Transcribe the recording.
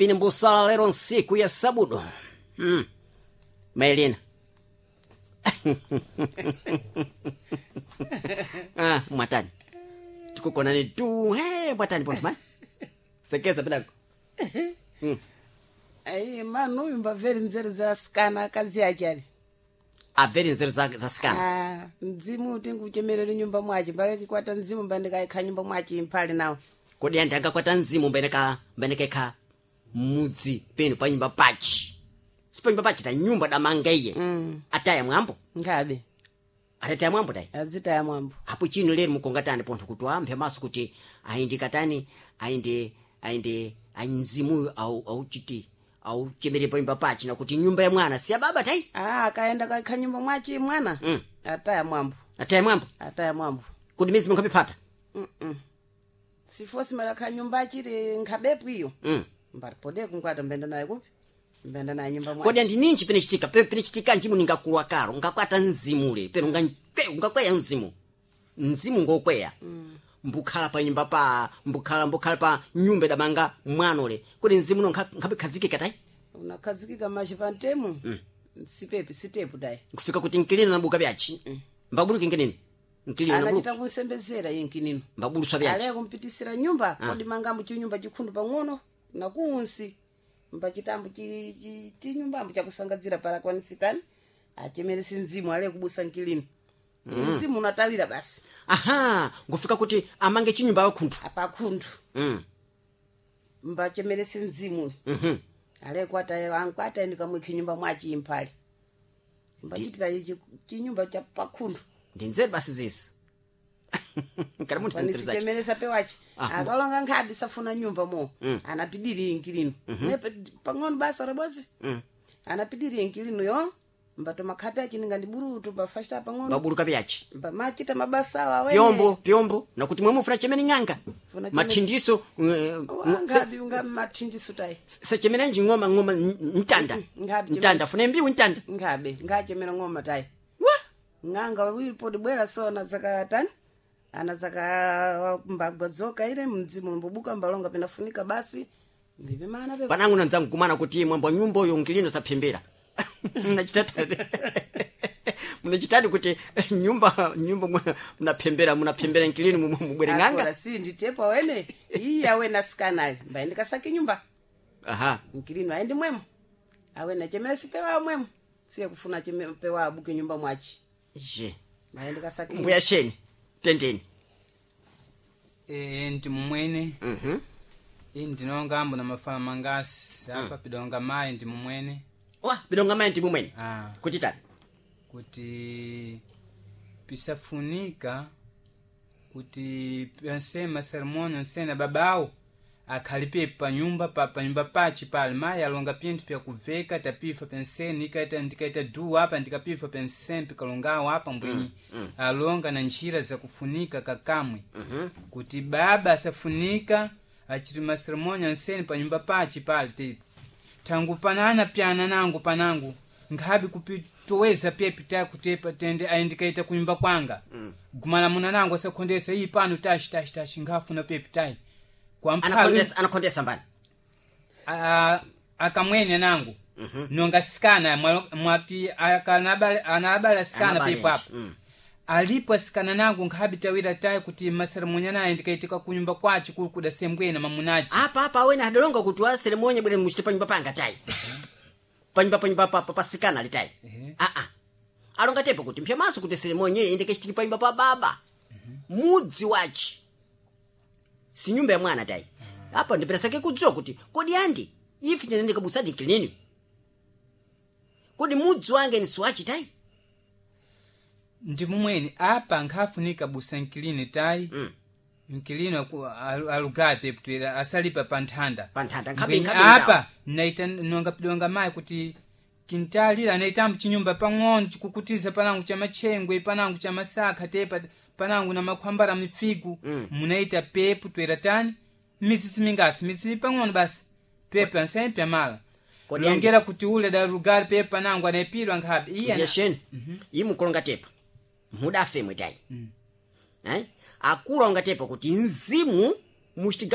Pini mbusala lero nsiku ya sabudo. Maelina. Ah, mwatani. Tukukonani tu. Hey, mwatani ponto mai. Sekeza pedango. Ayi manu uyu mbamveri nzeru za asikana akazi ache ali. Abveri nzeru za sikana. Ah, mdzimu tinguchemerere nyumba mwache mbaleki kwata mdzimu mbandikaikha nyumba mwache imphali nawo. Kodi anthu angakwata mzimu mbeneka mudzi penu pa nyumba pachi. Si pa nyumba pachi ta nyumba damanga iye. Ataya mwambo. Nkhabe. Atataya mwambo tayi. Azitaya mwambo. Apo chino lero mukongatani pontho kuti amphe maso kuti ayindi katani ayindi ayindi mzimuyo au auchiti auchemere pa nyumba pachi na kuti nyumba ya mwana si ya baba tayi. Ah, akaenda kaikha nyumba mwache mwana. Ataya mwambo. Ataya mwambo. Ataya mwambo. Kuti mizimu nkhapipata. Sifosi malakha nyumba achiti nkhabepo iyo. Mbalipode kunkwata mbenda naye kupi? Mbenda naye nyumba mwache. Kodi andi ninji pene chitika pene chitika njimu ningakulwa kalo ngakwata mzimule peno ngakweya mzimu mzimu ngokweya. Mbukhala pa nyumba pa mbukhala pa nyumba idamanga mwanole kodi mzimu uno nkhapikhazikika tayi. Unakhazikika machi pa ntemu. Sipepi sitepu dayi. Nkufika kuti nkilina nabuka byachi. Mbabuluki nkinini nkilina Anachita nabuluka kunsembezera iye nkinino. mbabuluswa byachi. Ale kumpitisira nyumba kodi mangambo chinyumba chikhundu pang'ono nakuunsi mbachitambo chinyumbambo chakusangadzira para kwanisitani achemeresi mzimu ale kubusa nkilino. Mzimu unatawira basi. Aha, ngufika kuti amange chinyumba pakhundu. Apakhundu. Mbachemeresi mzimu. Ale kwata ankwata ndikamwikhi nyumba mwachi imphali. Mbachitika ichi chinyumba cha pakhundu. Ndi nzeru basi zizi. Kana munthu anzeru zachi. Panisichemeresa pewachi. Akalonga nkhabi safuna nyumba mo. Anapidiri inkilino. Nepe pang'ono basa rabozi. Anapidiri inkilino yo. Mbato makhapi achi ninga ndiburutu mbafashita pang'ono. Mbabuluka byachi. Mbamachita mabasa awo awene. Pyombo pyombo nakuti mwemwe mufuna chemene ng'anga. Funa chemene- Mathindiso Wangabi unga mathindiso tayi. sechemenenji ng'oma ng'oma ntanda. Ngabi Ntanda funa mbiwu ntanda. Ngabe ngachemera ng'oma tayi. Wa Ng'anga wilipo dibwera so anazaka tani. Anazaka mbagwa dzoka ile mdzimu mbubuka mbalonga pinafunika basi. Mbibi mana pe. panangu nanzangu kumana kuti mwambo nyumba uyo nkilino saphembera. Mnachitata. Mnachitani kuti nyumba nyumba mnaphembera mnaphembera nkilino mubwere ng'anga. Akora si nditepo awene. Iyi awene asikana mbaende kasaki nyumba. Aha. Nkilino aende mwemo. Awene chemera sipewa mwemo. Siye kufuna pewa abuke nyumba mwachi. Je. Mbaende kasaki. Mbuya sheni. Tendeni. Ndi mumwene. Ii ndinonga ambo na mafala mangasi apa pidonga mayi ndi mumwene. Wa bidonga mayi ndi mumwene. Kuti tani? Kuti pisafunika kuti pensema sermoni nsena babawo akhalipe panyumba pa panyumba pachi pali mayi alonga pinthu pyakuveka tapifa penseni ikaita ndikaita duwa apa ndikapifa penseni pikalongawo apa mbwenyi alonga na ntchira zakufunika kakamwe. Kuti baba asafunika achiti maseremoni anseni panyumba pachi pali te thangu panana pyana nangu panangu nkhabe kupitoweza pepi takutepa tende ayindikaita kunyumba kwanga. Gumala muna nangu asakhondesa iyi pano tashi tashi tashi nkhafuna pepi tayi. Kwa mphawi- Anakhondesa anakhondesa mbani. Akamwene nangu. Nonga sikana mwati anabala sikana Anabale pepo apo. nje. Alipo asikana nangu nkhabe tawira tayi kuti maseremonya naye ndikaitika kunyumba kwachi kuli kuda sembwena mamunachi. Apa apa awene adalonga kuti wa seremonya bwere muchite panyumba panga tayi. Panyumba panyumba pa pa pasikana ali tayi. Ah ah. Alonga tepo kuti mpyamaso kuti seremonya iyi indikechitiki panyumba pa baba. Mudzi wachi. Si nyumba ya mwana tayi. Apa ndiperesake kudziwa kuti kodi andi ifi tinene kabusadi nkilini. Kodi mudzi wange ni siwachi tayi. Ndi mumwene apa nkhafunika busa nkilini tayi. Nkilini alugape putwera asalipa pa nthanda. Pa nthanda, Mbwenyi nkhabe apa naita nonga pidonga mayi kuti kintalira naitambo chinyumba pang'ono chikukutiza panangu cha machengwe panangu cha masakha tepa panangu na makhwambara mifigu. Munaita pepu twera tani mitsitsi mingasi mitsitsi pang'ono basi pepu ansemi pyamala. Kodi Longera kuti ule da lugari pepu panangu anaipidwa nkhabe iye Ndiye sheni. Iyi mukulonga tepa. Mudafe mwe tayi. Akulu alonga tepa kuti mzimu muchitiga